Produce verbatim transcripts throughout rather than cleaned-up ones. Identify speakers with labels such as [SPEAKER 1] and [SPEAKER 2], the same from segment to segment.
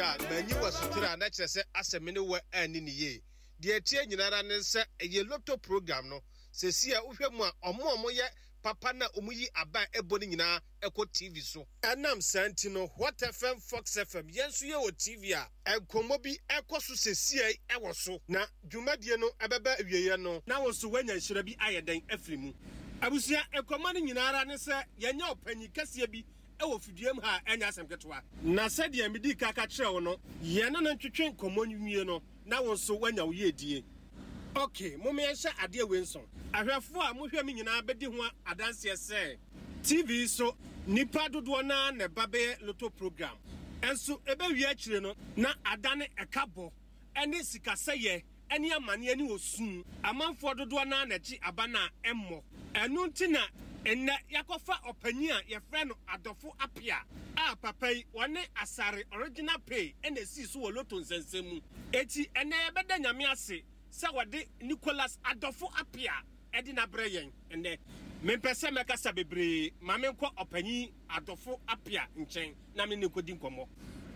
[SPEAKER 1] a manyi wɔ sotire a na kyerɛ sɛ asɛ me ne wɔ anni ne yie. Deɛ ɛteɛ nyinara ne sɛ ɛyɛ lotto program no sɛsi a wohwɛ mu a ɔmo a ɔmo yɛ papa na ɔmo yi aba a ɛbɔ no nyinaa ɛkɔ T V so. Ɛnam saa nti no, Hot F M, Fox F M, yɛn nso yɛwɔ T V a nkɔmmɔ bi ɛkɔ so sɛsia ɛwɔ so, na dwumadie no ɛbɛbɛ awieeɛ no na wo nso woanya nhyira bi ayɛ dɛn afiri mu. Abusua, nkɔmmɔ no nyinara ne sɛ yɛnyɛ ɔpanyin kɛseɛ bi ɛwɔ fiduam ha a ɛnyɛ asɛm ketewa, na sɛdeɛ medi ka ka kyerɛ wo no, yɛne no ntwetwe nkɔmmɔ nwie no na wo nso woanya wo yiedie. Ok, mom yɛnhyɛ adeɛ wei nso. Ahwɛfoɔ a mohwɛ me nyinaa bɛdi ho adanseɛ sɛ T V so nipa dodoɔ naa na ɛba bɛyɛ lotto program, ɛnso ɛbɛwie akyire no na adane ɛka bɔ ɛne sikasɛyɛ ɛne amanneɛ ne osu. Amanfoɔ dodoɔ naa na ɛgye aba no a ɛmmɔ. Ɛno nti na ɛnnɛ yɛakɔfa ɔpanyin a yɛfrɛ no Adɔfo Apia a papa yi wɔne Asare Original Pay ɛna esii so wɔ lotto nsɛnsɛm mu. Eti ɛnnɛ yɛbɛda Nyame ase sɛ wɔde Nicholas Adɔfo Apia ɛde n'abrɛ yɛn ɛnnɛ. Mempɛ sɛ mɛkasa bebree, ma menkɔ ɔpanyin Adɔfo Apia nkyɛn na me ne nkɔdi nkɔmmɔ.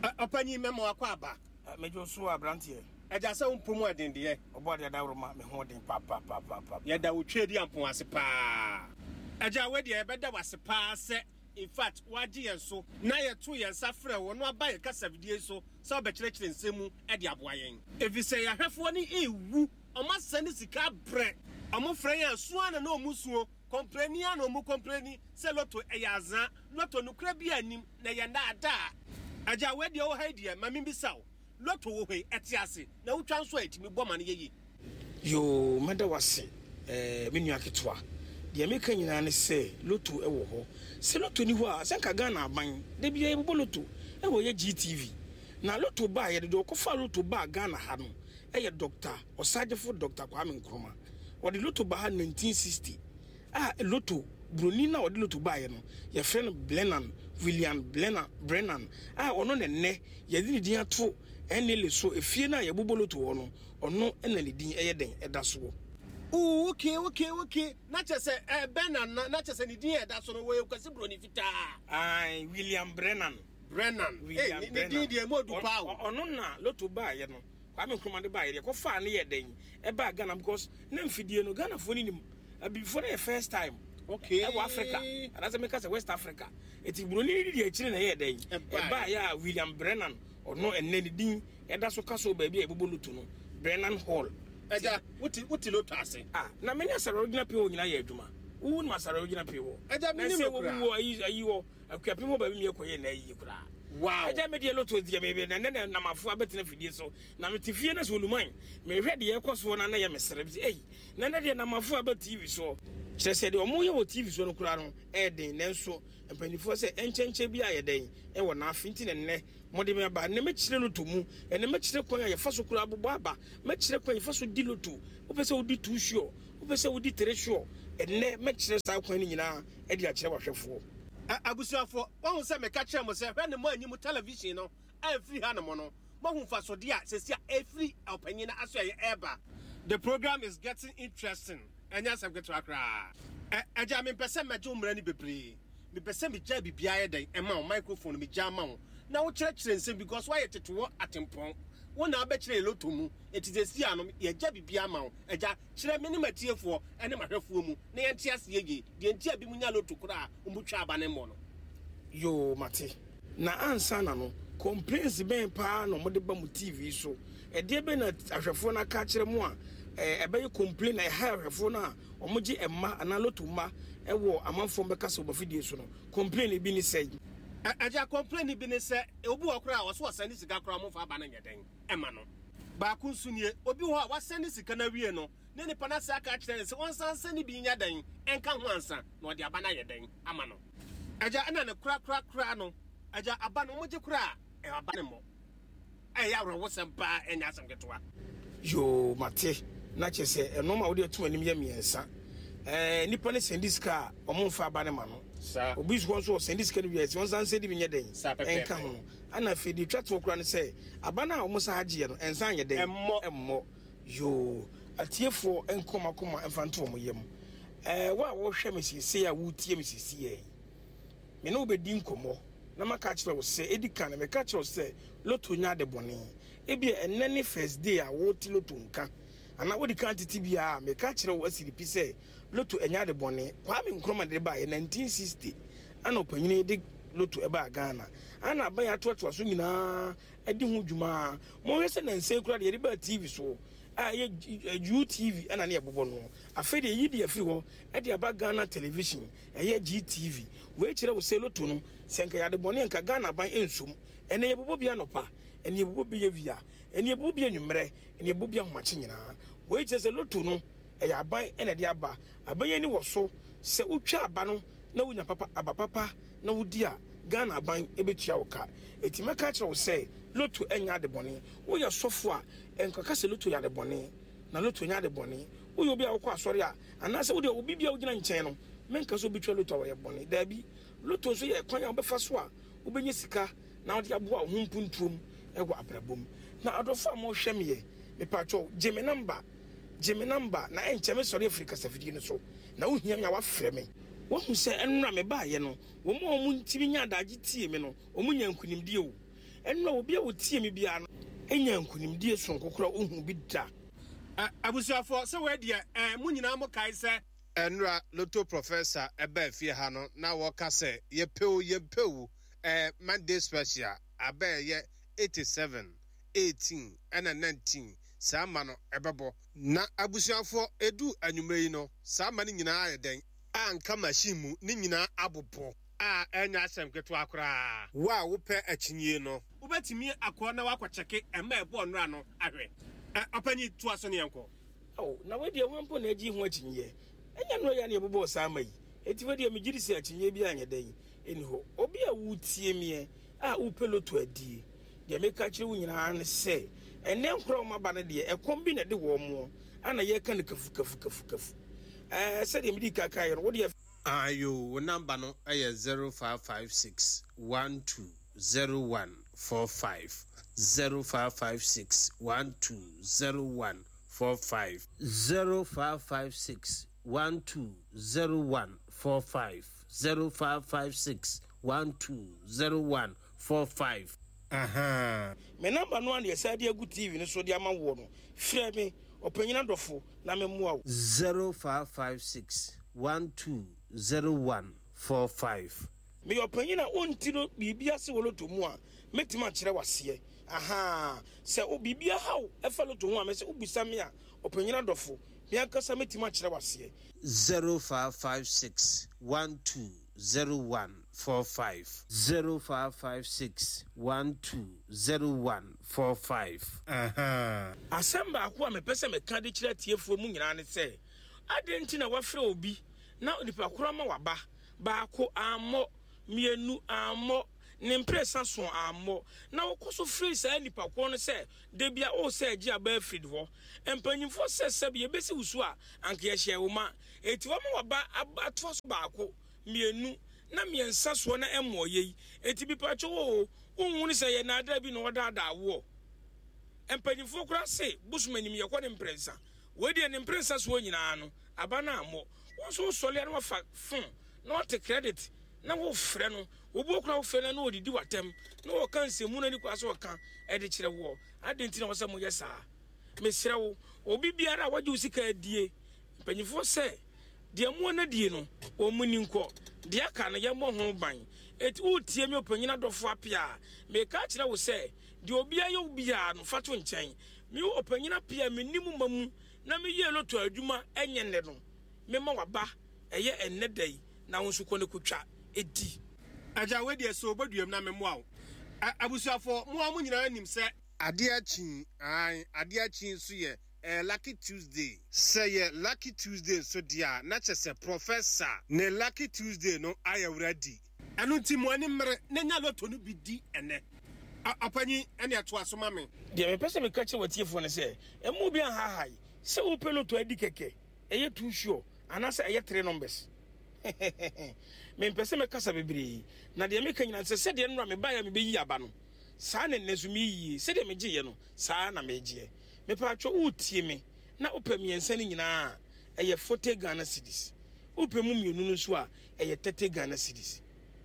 [SPEAKER 1] Ɛ, ɔpanyin, mɛma wakɔ aba.
[SPEAKER 2] Megye so, aberanteɛ.
[SPEAKER 1] Ɛgya, sɛ wo mpom ɛden deɛ.
[SPEAKER 2] Ɔbɔ adeɛ adaworoma, me ho den papapapapa.
[SPEAKER 1] Yɛda wo twɛ di ampon ase paa. Agya, wei deɛ yɛbɛda wo ase paa sɛ in fact woagye yɛn so na yɛto yɛn nsa frɛ wɔ no aba yɛ kasafidie so sɛ wobɛkyerɛkyerɛ nsɛm mu de aboa yɛn, ɛfiri sɛ yɛahwɛfoɔ no ɛwu, ɔmo asɛ ne sika brɛ, ɔmo frɛ yɛn a sua na na ɔmo suo complain a na ɔmo complain sɛ lotto ɛyɛ azaa, lotto nokora bi anim na ɛyɛ nnaadaa. Agya, wei deɛ wɔ ha yi deɛ, ma membisa wo, lotto wɔ hɔ yi, ɛte ase na wotwa nso a ɛtumi bɔ ma no yɛye?
[SPEAKER 2] Yoo, mɛda wase, ɛɛ me nua ketewa. Deɛ meka nyinaa ne sɛ lotto ɛwɔ hɔ. Sɛ lotto ni hɔ a, sɛ nka Ghana aban da bia yɛbobɔ lotto ɛwɔ yɛ G T V. Na lotto baa, yɛde deɛ ɔkɔfa lotto baa Ghana ha no ɛyɛ Doctor Ɔsagyefo Doctor Kwame Nkrumah. Wɔde lotto baa ha nineteen sixty a lotto buroni na ɔde lotto baeɛ no, yɛfrɛ no Brennan, William Brennan Brennan a ɔno ne nnɛ yɛde ne din ato ɛnele so efie no a yɛbobɔ lotto hɔ no, ɔno ɛna ne din ɛyɛ den ɛda soɔ.
[SPEAKER 1] Ooh, okay okay okay na kyerɛ sɛ ɛ Brennan na na kyerɛ sɛ ne din a ɛda so no, wɔyɛ Kwasi Buroni fitaa.
[SPEAKER 2] Aye, William Brennan.
[SPEAKER 1] Brennan.
[SPEAKER 2] William
[SPEAKER 1] Hey, ne din deɛ mu odu paa o.
[SPEAKER 2] Ɔ- ɔno na lotto baeɛ no, Kwame Nkrumah de baeɛ deɛ kɔfaa ne yɛ den ɛbaa Ghana, because na mfidie no Ghanafoɔ no nim, abibifoɔ no yɛ first time
[SPEAKER 1] okay
[SPEAKER 2] ɛwɔ Africa anaasɛ meka sɛ West Africa. Eti buroni no di akyire na ɛyɛ dɛn
[SPEAKER 1] Ɛbaeɛ.
[SPEAKER 2] ɛbaeɛ a William Brennan, ɔno ɛnɛ ne din ɛda so ka so baabi a yɛbobɔ lotto no, Brennan Hall.
[SPEAKER 1] Agya, wote wote lotto ase?
[SPEAKER 2] Ah, na mene Asare Original Pay hɔ nyinaa yɛ adwuma. Wowu no Asare Original Pay hɔ.
[SPEAKER 1] Agya,
[SPEAKER 2] na
[SPEAKER 1] menim
[SPEAKER 2] sɛ
[SPEAKER 1] no koraa.
[SPEAKER 2] wɔwu wɔ ayi ayi wɔ Akuapem hɔ baabi mi ɛkɔyɛ na ayi koraa.
[SPEAKER 1] Wow
[SPEAKER 2] ɛgya, me deɛ lotto deɛ mebe na nɛ namafo abɛtena fidie so na mete fie no sɛ oluman mehwɛ deɛ ɛkɔ soɔ na na yɛ mesere sɛ ei, na nɛ deɛ namafo aba T V soɔ, kyerɛ sɛ deɛ ɔmo yɛ wɔ T V soɔ no koraa no ɛyɛ den. Nanso mpanimfoɔ sɛ ɛnkyɛnkyɛn bi ayɛ dɛn ɛwɔ n'afe nti na nnɛ mɔde me aba. Nnɛ mɛkyerɛ lotto mu, ɛnɛ mɛkyerɛ kwan a yɛfa so koraa bobɔ aba, mɛkyerɛ kwan a yɛfa so di lotto. Wopɛ sɛ wodi two sure, wopɛ sɛ wodi three sure, ɛnnɛ mɛkyerɛ saa kwan no nyinaa ɛde akyerɛ wahwɛfoɔ.
[SPEAKER 1] Ɛ, abusuafoɔ, wahu sɛ meka kyerɛ mo sɛ hwɛ ne mo anyi mu television no amfiri ha nom no, moahu mfasodeɛ a sɛsi a ɛfiri ɔpanyin no aso a ɛyɛ ɛreba. The program is getting interesting, ɛnyɛ asɛm ketewa koraa. Ɛ, agya, mempɛ sɛ mɛgye wo mmerɛ no bebree. Mepɛ sɛ megya biribiara yɛ dɛn ɛma wo microphone no, megya ama wo na wokyerɛkyerɛ nsɛm because woayɛ tetewɔ atempɔn, wo na wobɛkyerɛ yɛ lotto mu. Ɛti sɛsi a no yɛgya biribiara ma wo. Agya, kyerɛ me ne matiefoɔ ne mahwɛfoɔ mu na yɛnte aseɛ yie deɛ nti a bi mu nya lotto koraa a ɔmutwa aba ne mmɔ no.
[SPEAKER 2] Yoo, mate. Na ansa na no, complaints bɛn paa na ɔmode ba mu T V so? Ɛdeɛ bɛn na ahwɛfoɔ no aka akyerɛ mu a ɛɛ, ɛbɛyɛ complain na ɛha ahwɛfoɔ no a ɔmogye ɛma anaa lotto mma ɛwɔ amanfoɔ bɛka sɛ ɔbɛfidie so no? Complain bi ne sɛ?
[SPEAKER 1] Ɛ- agya complain bi ne sɛ obi wɔ koraa a ɔso ɔsɛne sika koraa, ɔmomfa aba no nyɛ dɛn ɛma no. Baako nso nie, obi wɔ hɔ a wasɛne sika no awie no, ne nipa no ase aka akyerɛ no sɛ ɔnsan sɛne bi nyɛ dɛn ɛnka ho ansa na ɔde aba no ayɛ dɛn ama no. Agya, ɛna ne korakorakora no, agya, aba no ɔmogye koraa a ɛ, aba no mmɔ. Ɛyɛ awerɛwosɛm paa, ɛnyɛ asɛm ketewa.
[SPEAKER 2] Yoo, mate. Na kyerɛ sɛ ɛnɔɔma a wode atum anim yɛ mmiɛnsa. ɛɛ nipa no send sika a, ɔmo mfa aba ne ma no.
[SPEAKER 1] Saa.
[SPEAKER 2] Obi nso nso ɔsend sika no wie sɛ ɔnsan send bi nyɛ dɛn
[SPEAKER 1] Saa pɛpɛɛpɛ.
[SPEAKER 2] ɛnka ho. Ana afei deɛ etwa toɔ koraa no sɛ aba no a ɔmo san agyeɛ no ɛnsan nyɛ dɛn?
[SPEAKER 1] Ɛmmɔ.
[SPEAKER 2] Ɛmmɔ. Yoo, atiefoɔ nkɔma kɔma mfa nto ɔmo yam. ɛɛ wo a wɔhwɛ me siesie a wotie me siesie yi, me ne wo bɛdi nkɔmmɔ na maka kyerɛ wo sɛ ɛdi kan no meka kyerɛ wo sɛ Lotto nyɛ ade bɔne. Ebia ɛnnɛ ne first day a wote lotto nka, anaa wode kan tete biara a, meka kyerɛ wo asiri pi sɛ lotto ɛnyɛ ade bɔne. Kwame Nkrumah de baeɛ nineteen sixty, ana ɔpanyini de lotto ɛbaa Ghana, ana aban atoatoa so nyinaa adi ho dwuma. Mohwɛ sɛ nansɛn kora deɛ yɛde baa T V so a ɛyɛ U T V, ɛna ne yɛbobɔ no. Afei deɛ yɛyi de afiri hɔ ɛde aba Ghana Television, ɛyɛ G T V. Wei kyerɛ wo sɛ lotto no, sɛ nka yɛade bɔne, nka Ghana aban ɛnsom. Ɛnɛ yɛbobɔ bi anɔpa, ɛne yɛbobɔ bi awia, ɛne yɛbobɔ bi anwummerɛ, ɛne yɛbobɔ bi ahomakye nyinaa. Wei kyerɛ sɛ lotto no ɛyɛ aban ɛna ɛde aba. Aban ani wɔ so sɛ wotwa aba no na wonya papa aba papa na wodi a, Ghana aban ɛbɛtua wo ka. Ɛti mɛka kyerɛ wo sɛ lotto ɛnyɛ ade bɔne. Woyɛ sɔfo a, ɛnkaka sɛ lotto yɛ ade bɔne, na lotto nyɛ ade bɔne. Woyɛ obi a wokɔ asɔre a, anaasɛ wode obi bi a wogyina nkyɛn no, menka sɛ obi twa lotto a wɔyɛ bɔne. Daabi, lotto nso yɛ kwan a wobɛfa so a wobɛnya sika na wode aboa wo ho mpuntuom ɛwɔ abrabɔ mu. Na adɔfo a mohwɛ meɛ, mepatwɔ, gye me number, gye me number, na ɛnkyɛ me sɔre afiri kasafidie no so na wohia me a, wafrɛ me. Woahu sɛ ɛnora mebaayɛ no, wɔn a wɔn ntimi nya adagye tie me no, wɔn nya nkonimdie o. Ɛnora obi a wɔtie me biara no ɛnya nkonimdie sononko koraa ohu bi da.
[SPEAKER 1] Abusuafoɔ, sɛ wɔadiɛ ɛ mo nyinaa mo kae sɛ ɛnora Lotto Professor ɛbaa fie ha no na wɔka sɛ yɛpɛw yɛmpɛw ɛɛ Monday Special aba ɛyɛ eighty-seven, eighteen ɛna nineteen, saa ma no ɛbɛbɔ. Na abusuafoɔ, edu anwummerɛ yi no, saa ma no nyinaa yɛ dɛn a nka machine mu ne nyinaa abobɔ a ɛnyɛ asɛm ketewa koraa. Wo a wopɛ akyinnyie no, wobɛtumi akɔ na woakɔkyɛke ɛma ɛbɔɔ nnora no ahwɛ. Ɛ ɔpanyin, toa so ne yɛnkɔ.
[SPEAKER 2] Oh, na wedeɛ hwan mpo na agye ho akyinnyɛ? Ɛnyɛ no yɛ ne yɛbobɔɔ saa ma yi. Enti wedeɛ megye di sɛ akyinnyɛ bi anyɛ dɛn ɛni hɔ. Obi a wotie meɛ a wopɛ lotto adie, deɛ meka kyerɛ wo nyinaa ne sɛ ɛnɛ nkora wɔn aba no deɛ, ɛkɔm bi na ɛde wɔn moɔ ana yɛka no kafu kafu kafu kafu. Ɛɛ sɛdeɛ mede kaka yɛ no, wodeɛ
[SPEAKER 1] Ayo, wo number no ɛyɛ zero five five six one two zero one four five, zero five five six one two zero one four five, zero five five six one two zero one four five, zero five five six one two zero one four five. Aha.
[SPEAKER 2] Me number no a na yɛsa de agu T V no so de ama woɔ no, frɛ me ɔpanyin adɔfo na memmoa wo.
[SPEAKER 1] zero five five six one two zero one four five.
[SPEAKER 2] Meyɛ ɔpanyin a ɔnti no biribi ase wɔ lotto mu a, mɛtumi akyerɛ waseɛ. Aha, sɛ o biribi ahaw ɛfa lotto ho a, mɛ sɛ wobisa me a, ɔpanyin adɔfo, me ankasa mɛtumi akyerɛ waseɛ.
[SPEAKER 1] zero five five six one two zero one four five, zero five five six one two zero one four five. Aha.
[SPEAKER 2] Asɛm baako a mepɛ sɛ meka de kyerɛ atiefoɔ mu nyinaa ne sɛ, adɛn nti na wafrɛ obi na nipa koro ama waba baako ammɔ, mmienu ammɔ, ne mprɛsa so ammɔ, na wokɔ so firi saa nipa korɔ no sɛ da bia wo sɛ agye aba afiri hɔ? Mpanyimfoɔ sɛ sɛbi yɛbɛsi wo so a, anka yɛhyɛ wo ma. Enti wɔma waba atoa so baako, mmienu na mmiɛnsa soɔ na ɛmmɔ yei. Enti bipatwo wo wohu sɛ yɛ naadaa bi na wɔdaadaa woɔ. Mpanyimfoɔ koraa se bosom anim yɛkɔ ne mprɛnsa. Wei deɛ, ne mprɛnsa soɔ nyinaa no aba no ammɔ. Wo nso wosɔre a na wafa phone na wate credit na wofrɛ no. Obi okura wofrɛ no na ɔdidi w'atɛm na wɔka nsɛmmu no ani kora sɛ ɔka ɛde kyerɛ woɔ. Adɛn nti na wɔ sɛ moyɛ saa? Mesrɛ wo, obi biara a wagye wo sika adie, mpanyimfoɔ sɛ deɛ mmoa no adie no, wɔn mu ni nkɔ, deɛ aka no yɛmmɔ ho ban. Eti wotie mi, ɔpanyin adɔfo Apia a, meka kyerɛ wo sɛ deɛ obiara yɛ wo biara no, fa to nkyɛn. Me ɔpanyin Apia, menni mu ma mu na meyɛ lotto adwuma ɛnyɛ nnɛ no. Mema waba ɛyɛ ɛnnɛ da yi na wo nso kɔ ne kotwa ɛdi.
[SPEAKER 1] Agya, wei deɛ sɛ obɛduam na memmoa wo. Abusuafoɔ, mo a mo nyinaa nim sɛ adeɛ akyi ae, adeɛ akyi nso yɛ ɛyɛ Lucky Tuesday. Sɛ yɛ Lucky Tuesday nso deɛ a, na kyerɛ sɛ Professor ne Lucky Tuesday no ayɛ ready. Ɛno nti mo ani mmere na nya lotto no bi di ɛnɛ. Ɔpanyin, ɛne ɛtoa so ma me.
[SPEAKER 2] Deɛ mepɛ sɛ meka kyerɛ watiefoɔ no sɛ ɛmu bi anhahae sɛ wopɛ lotto adi kɛkɛ, ɛyɛ too sure anaasɛ ɛyɛ three numbers. Mempɛ sɛ mɛkasa bebree, na deɛ meka nyina sɛ sɛdeɛ nnora mebaeɛ a mebɛyi aba no, saa ne nnɛ nso meyie. Sɛdeɛ megyeeɛ no, saa na megyeɛ. Mepatwɛ, wotie me na wopɛ mmiɛnsa no nyinaa a, ɛyɛ forty Ghana cedis. Wopɛ mu mmienu no nso a, ɛyɛ thirty Ghana cedis.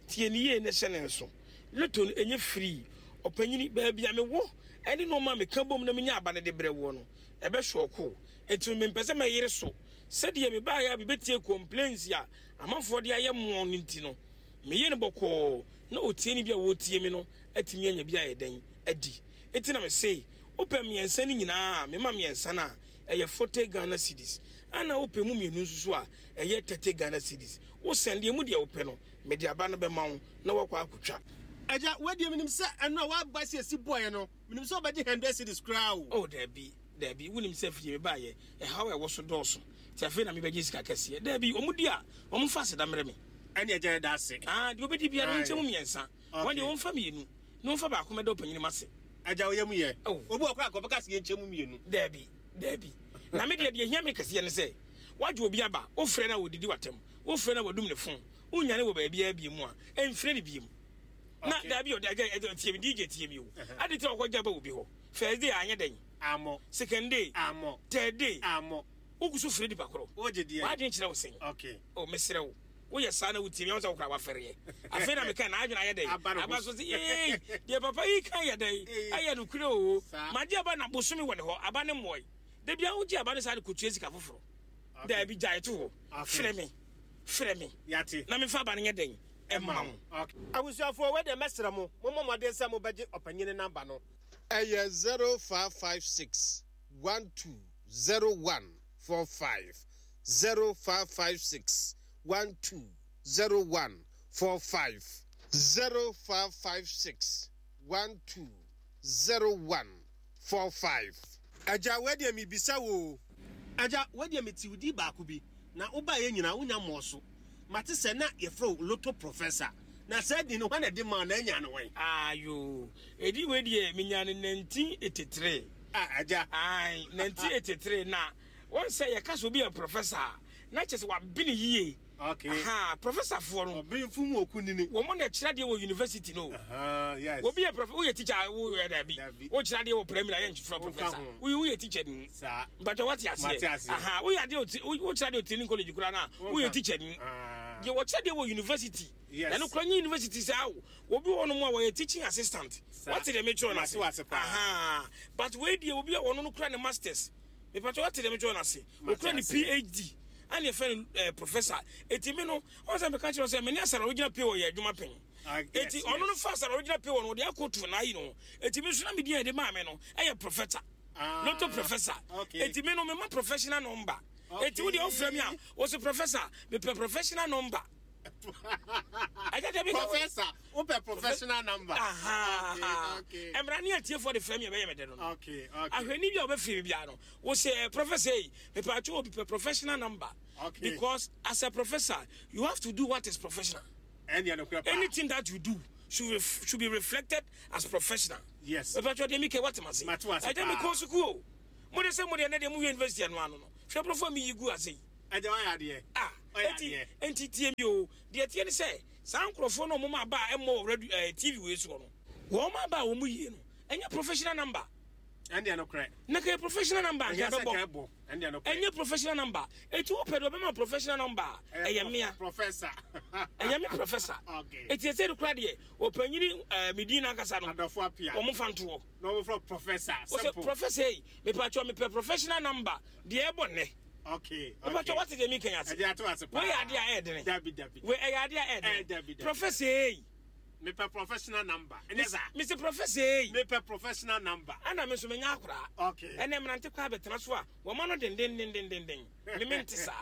[SPEAKER 2] Tie ne yie ne hyɛ ne nso. Lotto no ɛnyɛ free. Ɔpanyini, baabi a mewɔ ɛne nneɛma a meka bom na menya aba no de brɛ woɔ no, ɛbɛhwɛ ɔko. Enti mempɛ sɛ mɛyere so sɛdeɛ mebaeɛ a mebɛtie complaints a amanfoɔ de ayɛ mmoɔ no nti no, meyɛ no bɔkɔɔ na ɔtie no bi a wɔtie me no atumi anya bi ayɛ dɛn adi. Enti na mese wopɛ mmiɛnsa no nyinaa a, mema mmiɛnsa no a, ɛyɛ forty Ghana cedis, ana wopɛ mu mmienu nso so a, ɛyɛ thirty Ghana cedis. Wosɛn deɛ mu deɛ wopɛ no, mede aba no bɛma wo na woakɔ akotwa.
[SPEAKER 1] Agya, wadeɛ menim sɛ ɛno a woaba sɛ esi bɔɔyɛ no, menim sɛ wobɛgye hundred cedis koraa o.
[SPEAKER 2] Oh, daabi, daabi, wonim sɛ fie mebaayɛ ɛhaw a ɛwɔ so dɔɔso, nti afei na mebɛgye sika kɛseɛ. Daabi, ɔmo di a, ɔmo mfa aseda mmerɛ me.
[SPEAKER 1] Ɛne agya, yɛda ase.
[SPEAKER 2] Ah, deɛ wobɛdi biara no, nkyɛ mu mmiɛnsa. Wɔn deɛ, wɔmfa mmienu na wɔmfa baako mɛda ɔpanyini m ase.
[SPEAKER 1] Agya, woyɛ mu yɛ.
[SPEAKER 2] Oh.
[SPEAKER 1] Obi wɔ koraa kɔbɛka sɛ yɛnkyɛ mu mmienu.
[SPEAKER 2] Daabi, daabi, na me deɛ, deɛ hia me kɛseɛ ne sɛ woagye obi aba, wofrɛ no a wɔdidi w'atɛm, wofrɛ no a wɔdum ne phone, wonyane wɔ baabiara bie mu a ɛmfrɛ no biem na
[SPEAKER 1] Okay.
[SPEAKER 2] Daabi, ɔde agya, agya, tie me, D J, tie me o. Ade tɛ ɔkɔgya ba obi hɔ first day, anyɛ dɛn?
[SPEAKER 1] Amɔ.
[SPEAKER 2] Second day?
[SPEAKER 1] Amɔ.
[SPEAKER 2] Third day?
[SPEAKER 1] Amɔ.
[SPEAKER 2] Wogu so frɛ nipa korɔ.
[SPEAKER 1] Wogye deɛ?
[SPEAKER 2] W'adwene kyerɛ wo sɛn?
[SPEAKER 1] Okay.
[SPEAKER 2] O, mesrɛ wo, woyɛ saa na wotie me sɛ wokora wafɛreɛ. Afei na meka na adwene ayɛ dɛn?
[SPEAKER 1] Aba ne ho.
[SPEAKER 2] Aba so sɛ yei deɛ papa yi ka yɛ dɛn?
[SPEAKER 1] Ee.
[SPEAKER 2] Ɛyɛ nokorɛ o.
[SPEAKER 1] Saa.
[SPEAKER 2] Magye aba na bosome wɔ ne hɔ, aba ne mmɔe. Da bia wogye aba no saa de kɔtua sika foforɔ.
[SPEAKER 1] Okay.
[SPEAKER 2] Daabi, gyae to hɔ.
[SPEAKER 1] Okay.
[SPEAKER 2] Frɛ me, frɛ me
[SPEAKER 1] Yate.
[SPEAKER 2] na memfa aba no nyɛ dɛn ɛma wo.
[SPEAKER 1] Okay. Abusuafoɔ, wei deɛ mɛsrɛ mo, mommɔ mmɔden sɛ mobɛgye ɔpanyini number no.
[SPEAKER 3] Ɛyɛ zero five five six one two zero one four five, zero five five six one two zero one four five, zero five five six one two zero one four five.
[SPEAKER 1] Agya, wei deɛ mebisa wo o. Agya, wei deɛ mete wo di baako bi na wobaeɛ nyinaa wonya mmɔɔ so. Mate sɛ na yɛfrɛ wo Lotto Professor, na saa din no, hwan na ɛde maa na anya no wɔn?
[SPEAKER 2] Ayo, ɛdi wei deɛ, menya no nineteen eighty-three.
[SPEAKER 1] Ah, agya.
[SPEAKER 2] Ai, nineteen eighty-three na wɔn sɛ yɛka sɛ obi yɛ professor a, na kyerɛ sɛ wabene yie.
[SPEAKER 1] Okay.
[SPEAKER 2] Aha, professorfoɔ no,
[SPEAKER 1] ɔbenfo mu oku nini.
[SPEAKER 2] Wɔn na kyerɛ adeɛ wɔ university no.
[SPEAKER 1] Aha, yes.
[SPEAKER 2] Obi yɛ prof, woyɛ teacher a, woyɛ dabi.
[SPEAKER 1] Dabi.
[SPEAKER 2] Wokyerɛ adeɛ wɔ primary a, yɛnfrɛ
[SPEAKER 1] Wonka
[SPEAKER 2] professor.
[SPEAKER 1] ho.
[SPEAKER 2] Woyɛ woyɛ teacher ni.
[SPEAKER 1] Saa.
[SPEAKER 2] Mpatwa, wate aseɛ?
[SPEAKER 1] Mate aseɛ.
[SPEAKER 2] Aha, woyɛ adeɛ wɔ ti- wo- wokyerɛ adeɛ wɔ training college koraa na
[SPEAKER 1] Wonka.
[SPEAKER 2] woyɛ teacher ni.
[SPEAKER 1] Ah.
[SPEAKER 2] Deɛ wɔkyerɛ adeɛ wɔ university,
[SPEAKER 1] Yes.
[SPEAKER 2] na no kora nye university saa o, obi wɔ hɔnom a wɔyɛ teaching assistant.
[SPEAKER 1] Saa.
[SPEAKER 2] Wate deɛ mekyerɛ no
[SPEAKER 1] Mate
[SPEAKER 2] ase?
[SPEAKER 1] wase paa.
[SPEAKER 2] Aha, but wei deɛ, obi a wɔno no kura ne masters, mepatwa, wate deɛ mekyerɛ no ase?
[SPEAKER 1] Mate
[SPEAKER 2] Okura ne
[SPEAKER 1] ase.
[SPEAKER 2] P H D ana yɛfrɛ no eh, professor. Eti mi no, ɔn sɛ meka kyerɛ wo sɛ mene asara wogyina pay wɔ yɛ adwuma pɛn.
[SPEAKER 1] Ah, yes,
[SPEAKER 2] Eti ɔno no
[SPEAKER 1] yes.
[SPEAKER 2] fa asara wogyina pay wɔ no, wɔde akɔtu n'ayi no. Eti mi nso na mi din a yɛde maa mi no ɛyɛ professor.
[SPEAKER 1] Ah,
[SPEAKER 2] Lotto Professor.
[SPEAKER 1] okay.
[SPEAKER 2] Eti mi no, mema professional number.
[SPEAKER 1] Okay.
[SPEAKER 2] Eti wo deɛ, wofrɛ mi a, wɔsɛ, "Professor, mepɛ professional number." Ɛgya deɛ bi ka.
[SPEAKER 1] Professor, wopɛ professional number.
[SPEAKER 2] Aha.
[SPEAKER 1] Okay, okay.
[SPEAKER 2] Mmara ne atiefoɔ de frɛ mi a, ɛbɛyɛ me dɛ no no
[SPEAKER 1] Okay, okay.
[SPEAKER 2] Ahwɛni bi a wɔbɛfiri mi biara no, wɔsɛ, "Professor yi, mepatwo, obi pɛ professional number."
[SPEAKER 1] Okay.
[SPEAKER 2] Because as a professor, you have to do what is professional.
[SPEAKER 1] Ɛndeɛ nokorɛ paa.
[SPEAKER 2] Anything that you do should, ref, should be reflected as professional.
[SPEAKER 1] Yes.
[SPEAKER 2] Mepatwo, deɛ mekɛ, wate mase?
[SPEAKER 1] Mate wase
[SPEAKER 2] Ɛgya,
[SPEAKER 1] paa.
[SPEAKER 2] mekɔ sukuu o. Mode sɛ mode ɛnɛ deɛ mowie university ɛno ano no, hwɛ borɔfo a meyi gu ase yi.
[SPEAKER 1] Agya, wayɛ adeɛ.
[SPEAKER 2] Ah.
[SPEAKER 1] Ɔyɛ
[SPEAKER 2] Enti
[SPEAKER 1] adeɛ.
[SPEAKER 2] enti tie mi o, deɛ tie ne sɛ saa nkurɔfoɔ no a wɔn aba a ɛmmɔ wɔ radio ɛɛ T V wei soɔ no, wɔn aba a wɔn yie no, ɛnyɛ professional number.
[SPEAKER 1] Ɛndeɛ nokorɛ.
[SPEAKER 2] Na kɛyɛ professional number
[SPEAKER 1] Ɛnyɛ
[SPEAKER 2] anka
[SPEAKER 1] sɛ
[SPEAKER 2] bɛbɔ.
[SPEAKER 1] ka ɛbɔ. Ɛndeɛ nokorɛ.
[SPEAKER 2] Ɛnyɛ professional number. Eti wopɛ deɛ ɔbɛma professional number a, ɛyɛ mmea.
[SPEAKER 1] Professor.
[SPEAKER 2] Ɛyɛ me professor.
[SPEAKER 1] Okay.
[SPEAKER 2] Eti ɛsɛ de kora deɛ ɔpanyini ɛɛ mi din n'ankasa no,
[SPEAKER 1] Adɔfo apia.
[SPEAKER 2] wɔn fa ntoɔ.
[SPEAKER 1] Na wɔn frɛ professor.
[SPEAKER 2] Wɔsɛ,
[SPEAKER 1] Simple.
[SPEAKER 2] "Professor yi, mepatwɔ, mepɛ professional number deɛ ɛbɔ nnɛ."
[SPEAKER 1] Okay.
[SPEAKER 2] Mepatwɔ, wate deɛ mi kɛn ase?
[SPEAKER 1] Ɛgya, ato ase paa.
[SPEAKER 2] Wei yɛ adeɛ a ɛyɛ dene.
[SPEAKER 1] Dabi, dabi.
[SPEAKER 2] Wei ɛyɛ adeɛ a ɛyɛ
[SPEAKER 1] Eh,
[SPEAKER 2] dene.
[SPEAKER 1] dabi, dabi.
[SPEAKER 2] Professor yi.
[SPEAKER 1] Mepɛ professional number. Ɛnyɛ saa?
[SPEAKER 2] Mr Professor yi.
[SPEAKER 1] Mepɛ professional number.
[SPEAKER 2] Ana me nso menya akoraa.
[SPEAKER 1] Okay.
[SPEAKER 2] Ɛnɛ mmerante kɔ abɛtena so a, wɔma no dendendendendenden, me mente saa.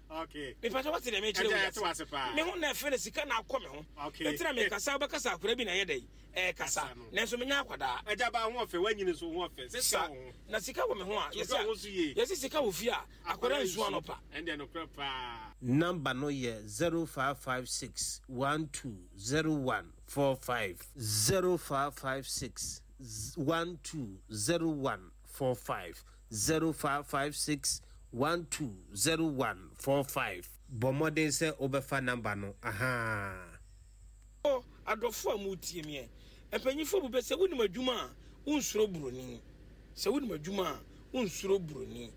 [SPEAKER 1] Okay.
[SPEAKER 2] Mepatwɔ, wate deɛ mekyerɛ?
[SPEAKER 1] Ɛgya,
[SPEAKER 2] wo
[SPEAKER 1] yɛte wase paa.
[SPEAKER 2] Me ho na ɛfɛ no, sika na akɔ me ho.
[SPEAKER 1] Okay.
[SPEAKER 2] Ɛnti na mekasa, wobɛkasa akora bi na ɛyɛ dɛ ɛkasa.
[SPEAKER 1] Kasa no.
[SPEAKER 2] Nanso menya akwadaa.
[SPEAKER 1] Agya, ba ho ɔfɛ, wanyini nso ho ɔfɛ. Sɛ sika
[SPEAKER 2] sa
[SPEAKER 1] wɔ ho.
[SPEAKER 2] Na sika wɔ me ho a,
[SPEAKER 1] Sika wɔ ho so yie.
[SPEAKER 2] yɛse sika wɔ fie a, akwadaa nsu anɔpa.
[SPEAKER 1] Ɛndeɛ nokorɛ paa.
[SPEAKER 3] Number no yɛ zero five five six one two zero one four five, zero five five six one two zero one four five, zero five five six one two zero one four five. Bɔ mmɔden sɛ wobɛfa number no aha.
[SPEAKER 2] Ɔ adɔfo a motie meɛ, mpanyimfoɔ bu bɛ sɛ wonim adwuma a, wonsuro buroni. Sɛ wonim adwuma a, wonsuro buroni.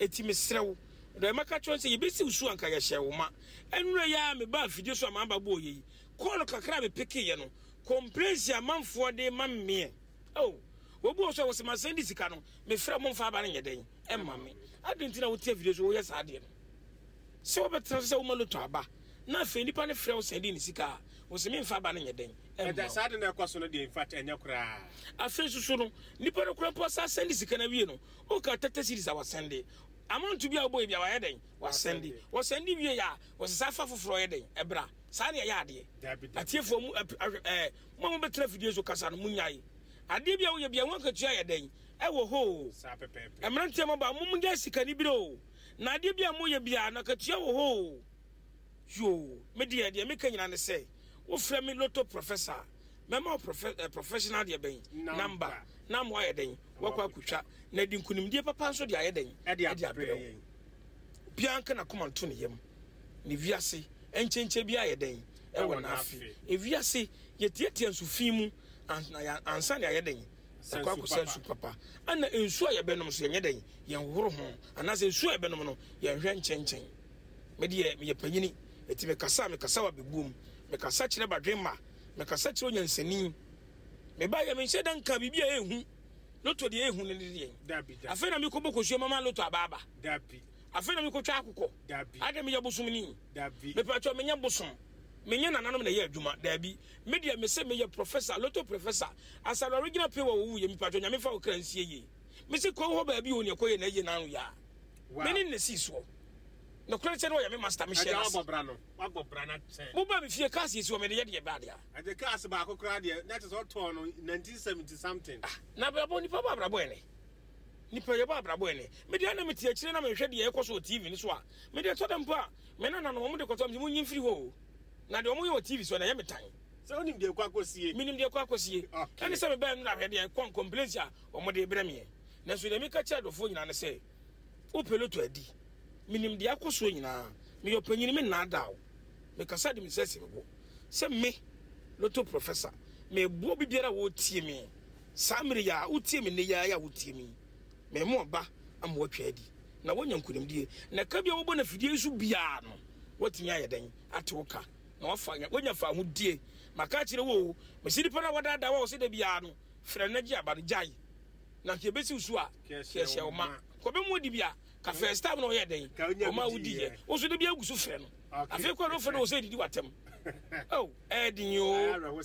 [SPEAKER 2] Ɛti mesrɛ wo, dɛ mɛka kyerɛ sɛ yɛbɛsi wo so anka yɛhyɛ wo ma. Ɛnura yi a meba afidie so a maaba bɔɔ yɛ yi, call kakra a mepekeyɛ no, Complaints amanfoɔ de ma mmeɛ. Oh, obi wɔ so a wɔsɛ ma sɛn de sika no, mefrɛ mo mfa aba no nyɛ dɛn ɛma me. Adi nti na wotie video so woyɛ saa adeɛ no. Sɛ wobɛtena so sɛ woma lotto aba, na afei nipa no frɛ wo sɛn de ne sika a, wɔsɛ memfa aba no nyɛ dɛn ɛma.
[SPEAKER 1] Saa de na ɛkɔ so no deɛ, in fact, ɛnyɛ koraa.
[SPEAKER 2] Afei nso so no, nipa no kora mpo asa sɛn de sika no awie no, woka thirty cedis a wasɛnde. Amount bi a wobɔ yi bi a wayɛ dɛn? Wasɛnde. Wɔsɛnde wie a, wɔsɛ saa fa foforɔ yɛ dɛn? Ɛbra. Saa ne ɛyɛ adeɛ. Atiefoɔ mu ɛɛ mo a mobɛtena fidie so kasa no, munyae. Adeɛ bi a woyɛ bi a ho akatua yɛ dɛn? Ɛwɔ hɔ o. Mmeranteɛ mo ba, mo mo gya sika ni bere o. Na adeɛ bi a moyɛ bi a na akatua wɔ hɔ o. Yoo, me deɛ deɛ meka nyinaa ne sɛ, wofrɛ me lotto professor, mɛma wo profe eh, professional deɛ bɛn number na mo ayɛ dɛn wakɔ akotwa na di nkonimdie papa nso de ayɛ dɛn
[SPEAKER 1] ɛde abrɛ yɛn.
[SPEAKER 2] Obiara nka n'akoma nto ne yam ne wiase nkyɛnkyɛn bi ayɛ dɛn ɛwɔ n'afe. Ewiase yɛtiatia nsu fi mu ansa ne ayɛ dɛn ɛkɔ akɔsa nsu papa. Ɛna nsu a yɛbɛnom so yɛnyɛ dɛn yɛnhoro ho, anaasɛ nsu a yɛbɛnom no yɛnhwɛ nkyɛnkyɛn. Me deɛ meyɛ panyini, eti mekasa mekasa wɔ abɛbuom, mekasa kyerɛ badwemma, mekasa kyerɛ onyansani. Meba yɛ menhyɛ da nka biribi a ɛhu lotto deɛ ɛhu no ne deɛ. Afei na mekɔbɔ kosua mama lotto abaaba. Afei na mekɔtwa akokɔ. Ade meyɛ bosomni. Mepatwa menyɛ bosom, menyɛ nananom na ɛyɛ adwuma. Daabi, me deɛ mese meyɛ professor, lotto professor. Asare original pay wɔ wowu yɛ. Mepatwa Nyame fa wo kra nsie yie. Mese kɔ hɔ baabi o ne ɛkɔyɛ na ɛyɛ nano yɛ a mene ne sii soɔ. Nokorɛ sɛ ne ɔyɛ me master, mehyɛ
[SPEAKER 1] no ase.
[SPEAKER 2] Moba me fie, cars yɛsi wɔ mede yɛ deɛ baadeɛ.
[SPEAKER 1] Agye cars baako koraa deɛ na kyerɛ sɛ ɔtɔɔ no nineteen seventy something.
[SPEAKER 2] Ah, na abrabɔ nipa bɔ abrabɔ ɛnɛ nipa yɛbɔ abrabɔ ɛnɛ. Mede ana mete akyire na mehwɛ deɛ ɛkɔ so wɔ T V no so a, mede ɛtɔ da mpo a me nana no wɔn de kɔtɔ mede mo nyi mfiri hɔ o. Na deɛ wɔn yɛ wɔ T V so na ɛyɛ me tan.
[SPEAKER 1] Sɛ wonim deɛ ɛkɔ akɔsie.
[SPEAKER 2] Menim deɛ ɛkɔ akɔsie. Ɛne sɛ mebɛn no na hwɛ deɛ kɔn complaints a wɔn de brɛ meɛ. Nanso deɛ meka kyerɛ adɔfoɔ nyinaa ne sɛ wopɛ lotto adi, menim deɛ akɔ soɔ nyinaa. Meyɛ ɔpanyini, me nnaadaa wo. Mekasa de me nsa si me bo sɛ me lotto professor meboa obi biara a wɔretie me saa mmere yi a wotie me nnɛ yi a wotie me mɛmo aba ama watwa adi na woanya nkonimdie. Na ka bi a wɔbɔ no afidie yi so biara no, woatumi ayɛ dɛn ate wo ka na wafa woanya fa ahodie. Maka akyerɛ wo o, mesi nipa no a wɔdaadaa wa wɔ sɛ da biara no frɛ no gye aba no gyae na nka ɛbɛsi wo so a kɛhyɛ wo ma kɔbɛmu adi bi a ka first time na ɔyɛ dɛn ɔma wodi yɛ wo so da bi agu so frɛ no. Afei kɔ no frɛ no wɔ sɛ didi watɛm oh ɛɛden o.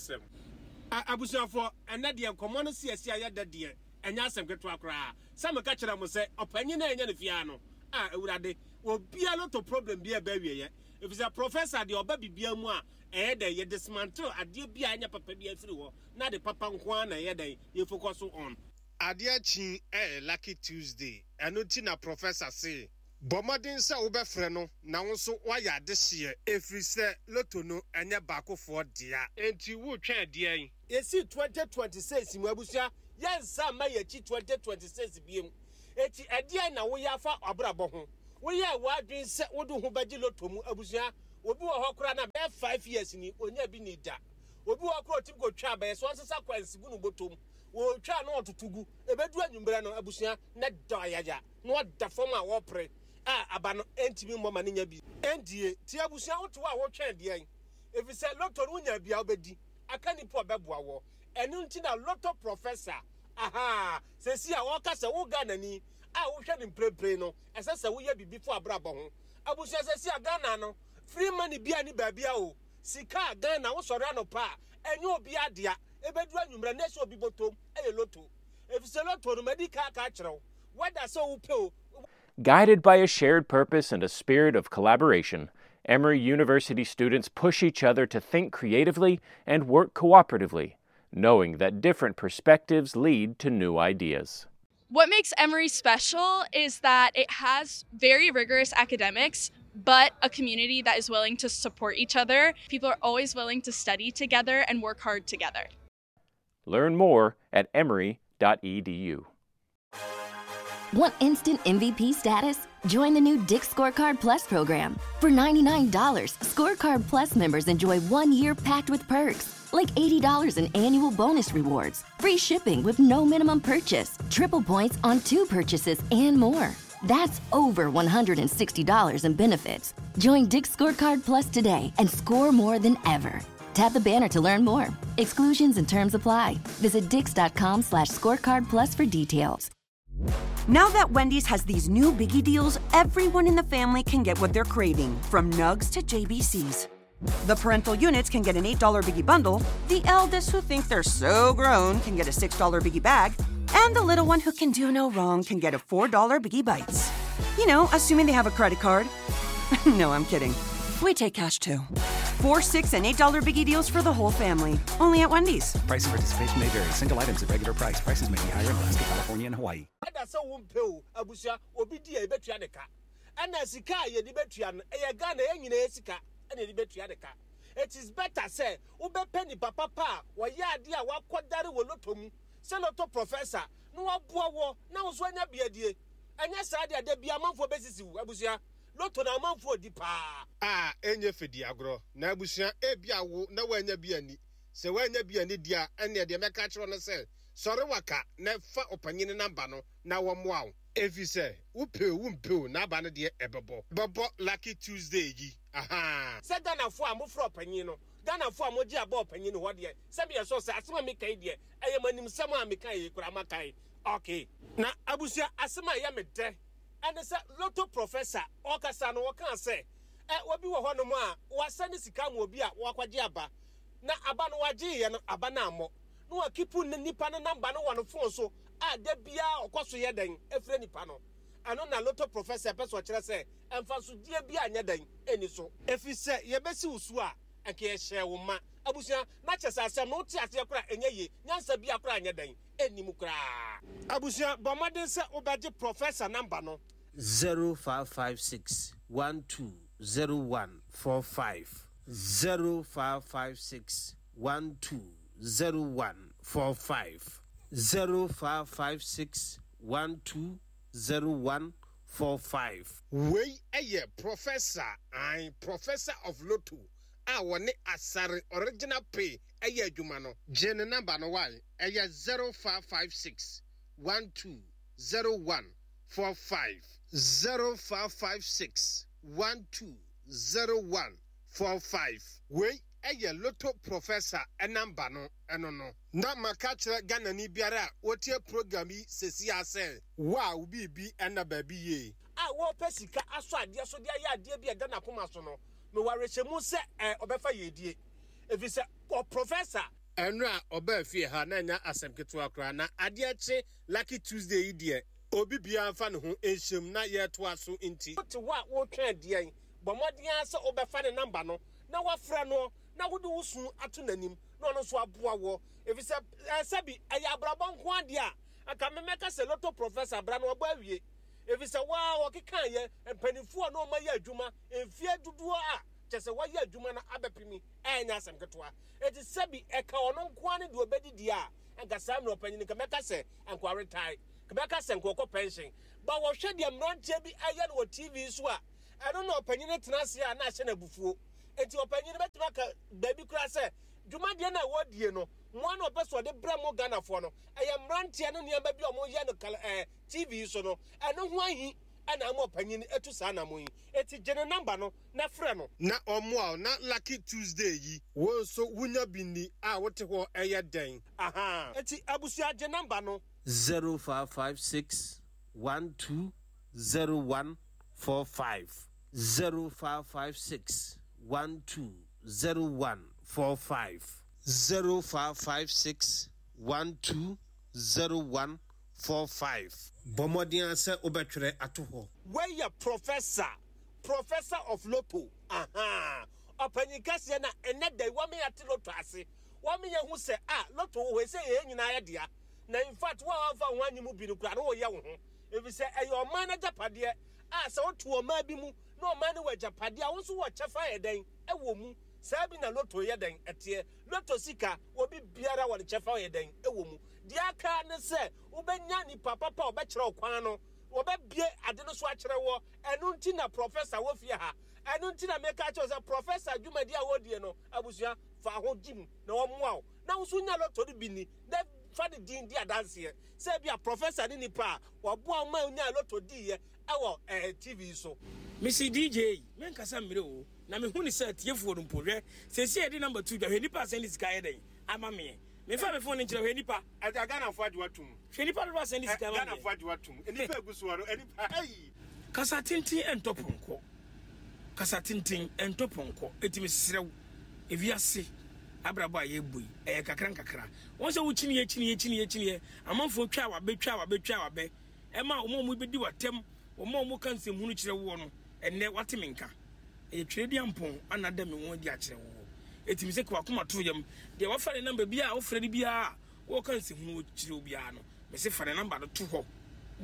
[SPEAKER 1] Abusuafoɔ, ɛnɛ deɛ nkɔmmɔ no si asi a yɛda deɛ ɛnyɛ asɛm ketewa koraa. Sɛ meka kyerɛ mo sɛ ɔpanyin na ɛnyɛ no fia no a, Awurade, obia lotto problem bi a ɛbɛ awieɛ, ɛfiri sɛ professor deɛ ɔba bibia mu a ɛyɛ dɛn yɛ dismantle adeɛ bi a ɛnyɛ papa bi afiri hɔ na de papa nko ara na ɛyɛ dɛn yɛ focus on. Adeɛ akyi ɛyɛ Lucky Tuesday, ɛno nti na professor se bɔ mmɔden sɛ wobɛfrɛ no na wo nso woayɛ adehyeɛ, ɛfiri sɛ lotto no ɛnyɛ baakofoɔ dea. Enti wotwɛn deɛn? Yɛsi twenty twenty-six mu, abusua, yɛnsa mma yɛkyi twenty twenty-six biem. Eti ɛdeɛn na woyɛ afa abrabɔ ho? Woyɛ w'adwene sɛ wode ho bɛgye lotto mu? Abusua, obi wɔ hɔ koraa na bɛyɛ five years ni onya bi ni da. Obi wɔ hɔ koraa otimi kɔtwa abɛyɛ so ɔnsesa kwansi gu no bɔtɔm, wɔtwa na ɔtoto gu. Ebedu anwummerɛ no, abusua, na da ayaya na ɔda fam a wɔpere a aba no ɛntumi mmɔ ma ne nya bi ɛndie. Ti abusua, wote hɔ a wotwɛn deɛn? Ɛfiri sɛ lotto no wonya bia wobɛdi aka nipa ɔbɛboa wɔ. Ɛno nti na lotto professor aha sɛsi a wɔka sɛ wo Ghanani a wohwɛ no mprempren no, ɛsɛ sɛ woyɛ biribi fo abrabɔ ho. Abusua, sɛsi a Ghana no free money bia ne baabi a o sika a Ghana wosɔre anɔpa a ɛnyɛ obi adea, ɛbɛduru anwummerɛ na ɛsɛ obi bɔtɔm ɛyɛ lotto, ɛfiri sɛ lotto no madi ka aka akyerɛ wo wɛda sɛ wopɛ o.
[SPEAKER 4] Guided by a shared purpose and a spirit of collaboration, Emory University students push each other to think creatively and work cooperatively, knowing that different perspectives lead to new ideas.
[SPEAKER 5] What makes Emory special is that it has very rigorous academics, but a community that is willing to support each other. People are always willing to study together and work hard together.
[SPEAKER 4] Learn more at emory dot E D U.
[SPEAKER 6] Want instant M V P status? Join the new Dick's Scorecard Plus program. For ninety-nine dollars, Scorecard Plus members enjoy one year packed with perks, like eighty dollars in annual bonus rewards, free shipping with no minimum purchase, triple points on two purchases, and more. That's over one hundred sixty dollars in benefits. Join Dick's Scorecard Plus today and score more than ever. Tap the banner to learn more. Exclusions and terms apply. Visit dicks.com slash scorecard plus for details.
[SPEAKER 7] Now that Wendy's has these new biggie deals, everyone in the family can get what they're craving, from nugs to J B Cs. The parental units can get an eight dollar biggie bundle, the eldest who think they're so grown can get a six dollar biggie bag, and the little one who can do no wrong can get a four dollar Biggie Bites. You know, assuming they have a credit card. No, I'm kidding. We take cash too. Four, six, and eight dollar biggie deals for the whole family. Only at Wendy's.
[SPEAKER 8] Price and participation may vary. Single items at regular price. Prices may be higher in Alaska, California, and Hawaii.
[SPEAKER 1] That's a wumpe abusia obi di e betua de ka. Ana sika ye di betua no e Ghana e nyina sika e di betua de ka. It is better say wo be ni papa pa wo ye ade a wakodare wo loto mu. Se loto professor no waboa wo na wo so anya biadie. Anya saa de ade bia manfo besisi wo abusia. Loto na manfo di pa. Ah, enye fedi agro na abusia e bia wo na wo anya bia ni. Se wo anya bia ni dia ene de meka kire no se sori waka na fa opanyini namba no na wo moa wo. Efi se wo pe wo mpe na aba no de ebebo. Bebo Lucky Tuesday yi. Aha. Se Ghana fo a mo fro opanyin no. Ghana fo a mo gi aba opanyin ho de. Se bi eso se asema me kai de. Eye manim sem a me kai kura makai. Okay. Na abusia asema ya me de. And se lotto professor okasa no woka se e obi wo ho no mo a wasane sika mo obi a wakwaje aba. Na aba no waje ye no aba na ammo. Na wa kipu nipa no number no wɔ no phone so a da bia okoso ye den efre nipa no. Ano na lotto professor peso kyerɛ sɛ emfa so die bia anya den eni so. Efi sɛ ye besi usu a anka ye hye wo ma. Abusia na kyerɛ asɛm no te ase kora enye ye nyansa bia kora anya den eni mu kora. Abusia bɔmɔden sɛ wobɛgye professor number no
[SPEAKER 3] zero five five six one two zero one four five zero five five six one two zero one four five zero five five six one two zero one four five.
[SPEAKER 1] Wei eye professor, I professor of lotto. A wone asare original pay eye adwuma no. Gye ne number no why? Eye zero five five six one two zero one four five zero five five six one two zero one four five. Wei eye lotto professor e number no eno no. Na maka kyerɛ Ghana ni biara a wotie program yi sesi ase wa obi bi ena ba bi ye. A wo pesika aso ade so de aye ade bi e da na koma so no. Me warehyemu se e obefa yedie. Efi se o professor eno a oba afie ha na nya asem ketewa kra na ade ache Lucky Tuesday yi de obi bia mfa ne ho enhyem na ye to aso nti. Wote wa wo twa de bomodin ase obefa ne number no na wafra no na wode wo su ato nanim na ono so aboa wo. Efi se sebi eya abrabɔ nko ade a aka memeka se lotto professor bra no oba awie. Efi se wa wo keka ye mpanifo no ma ye adwuma mfie duduo a kyese wa ye adwuma na abepimi enya asem ketewa. Eti sebi eka ono nko ane de obedidi a anka sam no panyin ka meka se anka retire ka meka se nko pension ba wo hwe de mrantie bi aye no T V so a eno na panyin tena ase a na hye na bufuo. Eti opanyin betima ka baby kura se dwumadie na wodie no mo na opeso de brɛ mo Ghana fo no eye mrantie no nea ba bi omo ye no eh T V so no eno ho ahi ana mo opanyin etu saa na mo yi. Eti gye ne number no na frɛ no na omo a na Lucky Tuesday yi wo nso wunya bi ni a wote ho eye den. Aha. Eti abusua gye number no
[SPEAKER 3] zero five five six one two zero one four five zero five five six one two zero one four five zero five five six one two zero one four five.
[SPEAKER 1] Bomodin ase obetwere ato ho. Where your professor, professor of lotto. Aha. Opanyin kase na ene da wa me ate lotto ase. Wa me hu se ah lotto we se ye nyina ye dea. Na in fact wa wa fa ho anyimu bi no kura no wo ye wo ho. Efi se eye o man agapade a se wo to o ma bi mu na o man ne wa agapade a wo nso wo chefa ye den e wo mu. Sabi na lotto ye den etie. Lotto sika obi biara wo ne chefa ye den e wo mu. Dia aka ne se ubenya ni papa pa obekere okwan no obebie ade no so akere wo enu nti na professor wo fie ha enu nti na meka che se professor dwumadi a wodie no abusua fa ho gym na wo moa wo na wo so nya lotto bi ni na fa de din di adanse se bia professor ni nipa wo boa ma nya lotto di ye e wo T V so.
[SPEAKER 2] Missus D J men kasa mmire o Na mehu ne sɛ atiefoɔ no mpo hwɛ seesei yɛde number two dwa hwɛ nipa asɛn de sika yɛ dɛn ama meɛ mefa me phone no nkyerɛ hwɛ nipa
[SPEAKER 1] Ɛda Ghanafoɔ agye watom.
[SPEAKER 2] Hwɛ nipa dodoɔ asɛn de sika ama meɛ.
[SPEAKER 1] Ghanafoɔ agye watom. Nipa egu soɔ no nipa ayi.
[SPEAKER 2] Kasa tenten ɛntɔ pɔnkɔ. Kasa tenten ɛntɔ pɔnkɔ. Eti mesrɛ wo, ewiase abrabɔ a yɛbɔ yi, ɛyɛ kakra nkakra. Wɔn sɛ wokyiniiɛ kyiniiɛ kyiniiɛ kyiniiɛ, amanfoɔ twa wabɛ twa wabɛ twa wabɛ, ɛma wɔn a wɔbɛdi w'atɛm, wɔn a wɔka nsɛmhunu kyerɛ woɔ no, ɛnnɛ wate me nka. Ɛyɛ Twereduampɔn ana ada me ho adi akyerɛ woɔ. Eti mesɛ ka w'akoma to yam. Deɛ wafa ne namba biara a wofrɛ no biara a wɔka nsɛmhunu kyerɛ wo biara no, mese fa ne namba no to hɔ.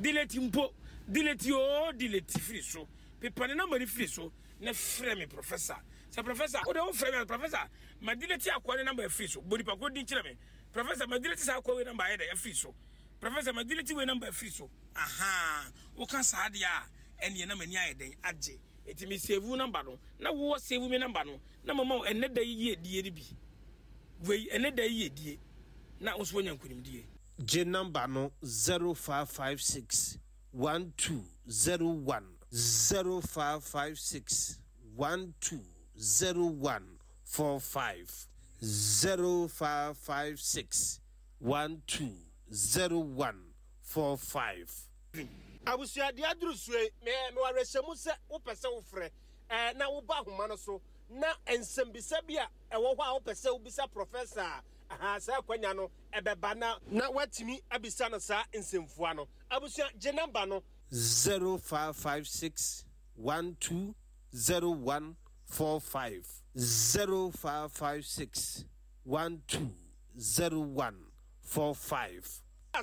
[SPEAKER 2] Delete mpo, delete oo, delete firi so. Pepa ne namba no firi so na frɛ me Professor. Sɛ Professor, wode wofrɛ me a, Professor, ma delete akoa ne namba afiri so. Bɔ nipa korɔ din kyerɛ me. Professor, ma delete saa akoa wei namba ayɛ dɛ afiri so. Professor, ma delete wei namba afiri so. Ahaa, woka saa deɛ a, ɛneɛ na m'ani ayɛ dɛn agye. Enti me save wo namba no, na wowɔ save me namba no, na mama wo ɛnnɛ da yi yiedie no bi. Wei, ɛnnɛ da yi yiedie, na wo nso woanya nkunimdie.
[SPEAKER 3] Gye namba no zero five five six one two zero one zero five five six one two zero one four five zero five five six one two zero one four five.
[SPEAKER 1] Abusua, deɛ aduru soɔ yi, me, mewɔ awerɛhyɛmu sɛ wopɛ sɛ wofrɛ, ɛɛ, na woba ahoma no so, na nsɛmbisa bi a ɛwɔ hɔ a wopɛ sɛ wobisa Professor a, aha, saa akwanya no ɛbɛba na, na woatumi abisa no saa nsɛmfua no. Abusua, gye namba no.
[SPEAKER 3] zero five five six one two zero one four five zero five five six one two zero one four five.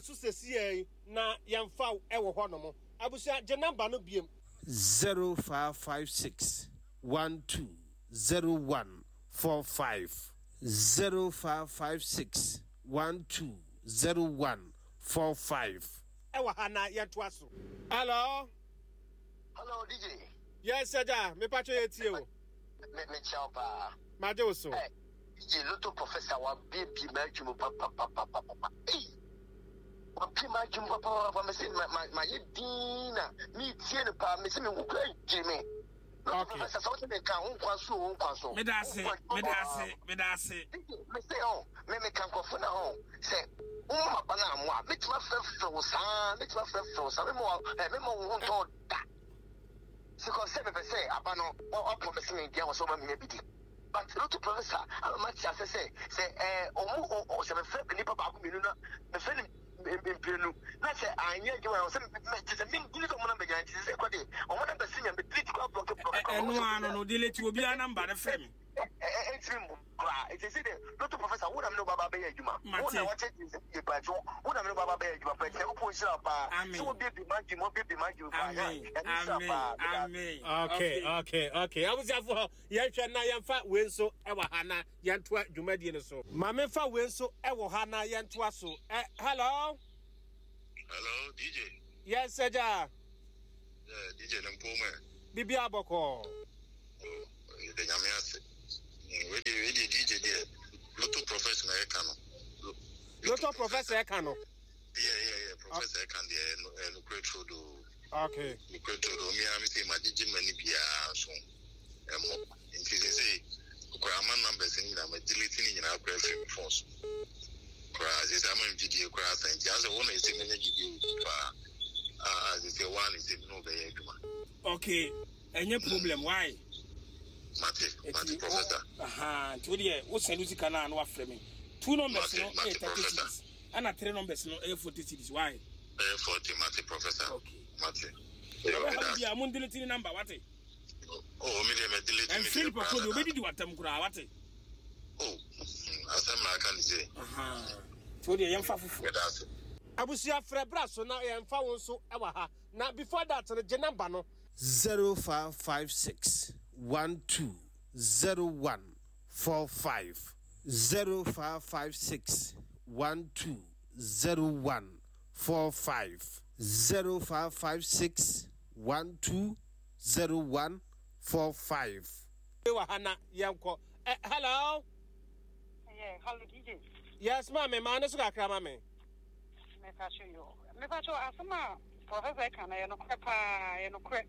[SPEAKER 1] So sesiei yi na yɛmfa wo wɔ hɔnom. Abusua, gye namba no biom.
[SPEAKER 3] zero five five six one two zero one four five zero five five six one two zero one four five.
[SPEAKER 1] Ɛwɔ ha na yɛntoa so. Hello.
[SPEAKER 9] Hello, D J.
[SPEAKER 1] Yes, Agya. Mepa kyɛ yɛ tie o.
[SPEAKER 9] Me me kyɛw paa.
[SPEAKER 1] Magye wo so.
[SPEAKER 9] Eh, D J Lotto Professor wa bie ma adwuma pa pa pa pa pa pa. Ei. Wa bie ma adwuma pa pa pa pa. Me se ma ma ma ye din na me tie no pa. Me se me hu kura gye me. Lotto Professor sɛ wote me nka ho nkwa so ho nkwa so.
[SPEAKER 2] Me da ase, me da ase, me da ase.
[SPEAKER 9] Me se oh, me me ka nkrɔfo na ho sɛ wo ma ba na amoa. Me tuma frɛfrɛ wo saa, me tuma frɛfrɛ wo saa. Me ma eh me ma wo ho ntɔ da. Because sɛ mepɛ sɛ aba no wa promise me deɛ wɔ sɛ ɔma menya bi di. But Lotto Professor ama mate ase sɛ sɛ eh ɔmo sɛ mefrɛ nipa baako mmienu na mefrɛ no mprenu na sɛ anyɛ adwuma a sɛ me sɛ me delete ɔmo namba nyinaa nti sɛ kɔ de ɔmo namba si nya me delete kɔ block block.
[SPEAKER 2] Ɛno ano no delete obiara namba no frɛ me.
[SPEAKER 9] Ɛntimi mbu koraa nti sɛ de Lotto Professor wo na me ne wo baba bɛyɛ adwuma. Wo na wɔkyɛ yɛ pa nti wo na me ne wo baba bɛyɛ adwuma pa nti Nyankopɔn nhyira paa. Sɛ wo bie bi ma dwuma wo bie bi ma dwuma paa. Amen.
[SPEAKER 2] Amen.
[SPEAKER 1] Okay, okay, okay. Abusuafo yɛnhwɛ na yɛmfa wei nso ɛwɔ ha na yɛntoa dwumadie no so. Ma memfa wei nso ɛwɔ ha na yɛntoa so. Eh, hello.
[SPEAKER 10] Hello, D J.
[SPEAKER 1] Yes, Agya.
[SPEAKER 10] Yeah, D J Nempome.
[SPEAKER 1] Bibi abɔkɔ.
[SPEAKER 10] Oh, the nyame ase. We dey we dey D J there. Lotto Professor na eka no.
[SPEAKER 1] Lotto Professor eka no.
[SPEAKER 10] Yeah, yeah, yeah. Professor eka there no no great do.
[SPEAKER 1] Okay.
[SPEAKER 10] No great do. Me am say ma G J mani bia so. Emo. Nti they say okra numbers ni na ma delete ni nyina akra free phone so. Kra they say am G D kra san. Nti ase won na say me G D pa. Ah, they say one is no be adwuma.
[SPEAKER 2] Okay. Any problem why?
[SPEAKER 10] Mate, Mate Professor.
[SPEAKER 2] Aha, nti wo de wo send sika na na wa frɛ me. Two numbers no eh thirty cities. And three numbers no eh forty cities. Why?
[SPEAKER 10] Eh forty, Mate Professor.
[SPEAKER 2] Okay.
[SPEAKER 10] Mate.
[SPEAKER 2] Yeah, I'm deleting number what?
[SPEAKER 10] Oh, me dey me delete.
[SPEAKER 2] And Philip Okodo obedi di watam kura what?
[SPEAKER 10] Oh, asem na aka ni say.
[SPEAKER 2] Aha. Nti wo de yemfa fufu.
[SPEAKER 1] Abusia frɛ bra so na yemfa wo nso e wa ha. Na before that no gye number no
[SPEAKER 3] zero five five six one two zero one four five zero five five six one two zero one four five zero five five six one two zero one four five.
[SPEAKER 1] Hello.
[SPEAKER 11] Yeah, hello D J.
[SPEAKER 1] Yes, ma'am. Ma ne so kakra ma me.
[SPEAKER 11] Me pa cho yo. Me pa cho asema Professor kan na no kre pa, no kre.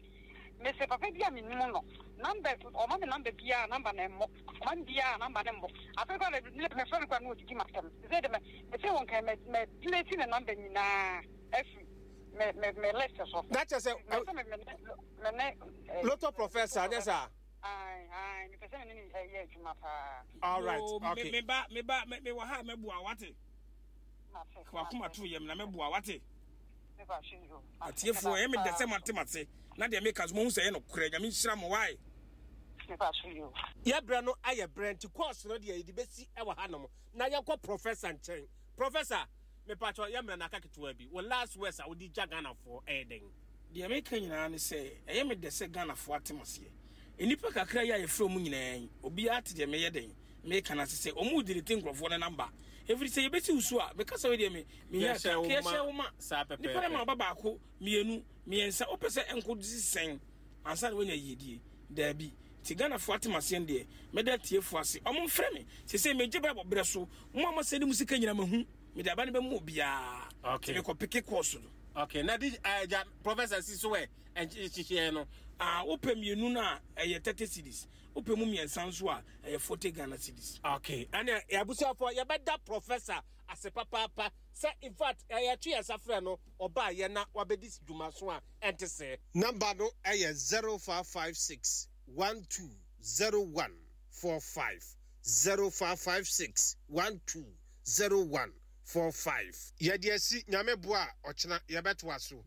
[SPEAKER 11] Mese papa bi a menim no number, ɔma me number biara, number na ɛmmɔ, ɔma me biara, number ne mmɔ. Afei kora mefrɛ no kora na ɔdidi m'asɛm sɛ de mese wo nka mɛ delete ne number nyinaa afiri me me me list so.
[SPEAKER 1] Na kyerɛ sɛ
[SPEAKER 11] mɛ sɛ me me me ne
[SPEAKER 1] Lotto Professor nyɛ saa?
[SPEAKER 11] Ae, ae, mepɛ sɛ me ne ne yɛ adwuma paa.
[SPEAKER 1] All right.
[SPEAKER 2] Yoo,
[SPEAKER 1] okay.
[SPEAKER 2] Me ba, me ba, me wɔ ha a mɛboa, wate? Wakoma to yam na mɛboa, wate? Atiefoɔ, ɛyɛ me dɛ sɛ moate m'ase, na deɛ meka so mohu sɛ ɛyɛ nokorɛ. Nyame nhyira mo, wae?
[SPEAKER 1] Yɛ berɛ no ayɛ berɛ nti course no deɛ yɛde bɛsi wɔ hanom na yɛnkɔ Professor nkyɛn. Professor, mepakyɛ yɛ mmerɛ no aka ketewa bi, wo last words a wode gya Ghanafoɔ ɛyɛ dɛn?
[SPEAKER 2] Deɛ meka nyinaa ne sɛ ɛyɛ me dɛ sɛ Ghanafoɔ ate m'aseɛ. Nnipa kakra yi a yɛfrɛ wɔn nyinaa yi, obiara te deɛ meyɛ dɛn meka no ase sɛ wɔn redelete nkurɔfoɔ no number. Ɛfiri sɛ yɛbɛsi wo so a, meka sɛ wei deɛ me mehia ka, ka yɛhyɛ wo ma. Nnipa no ma ɔba baako, mmienu, mmiɛnsa, wopɛ sɛ ɛnkɔsi sɛn ansa na woanya yiedie? Daabi. Nti Ghanafoɔ ate m'aseɛ no deɛ, mɛda atiefoɔ ase. Wɔn mfrɛ me. Seesei megye berɛ bɔ berɛ so. Mo a moasɛne mo sika nyinaa mahu. Mede aba no bɛma obiara.
[SPEAKER 1] Okay.
[SPEAKER 2] Nti mekɔ peke course no.
[SPEAKER 1] Okay, na di uh, Professor si so ɛ nhyehyɛɛ no.
[SPEAKER 2] Ah, wopɛ mmienu no a, ɛyɛ thirty cedis. Wopɛ mu mmiɛnsa nso a, ɛyɛ forty Ghana cedis.
[SPEAKER 1] Okay, ɛnna abusuafoɔ yɛbɛda Professor ase papaapa sɛ in fact yɛto yɛn nsa frɛ no ɔbaa yɛ na wabɛdi dwuma so a ɛnte sɛ. Number no ɛyɛ zero five five six one two zero one four five, zero five five six one two zero one four five. Yɛde asi Nyame boa a ɔkyena yɛbɛtoa so.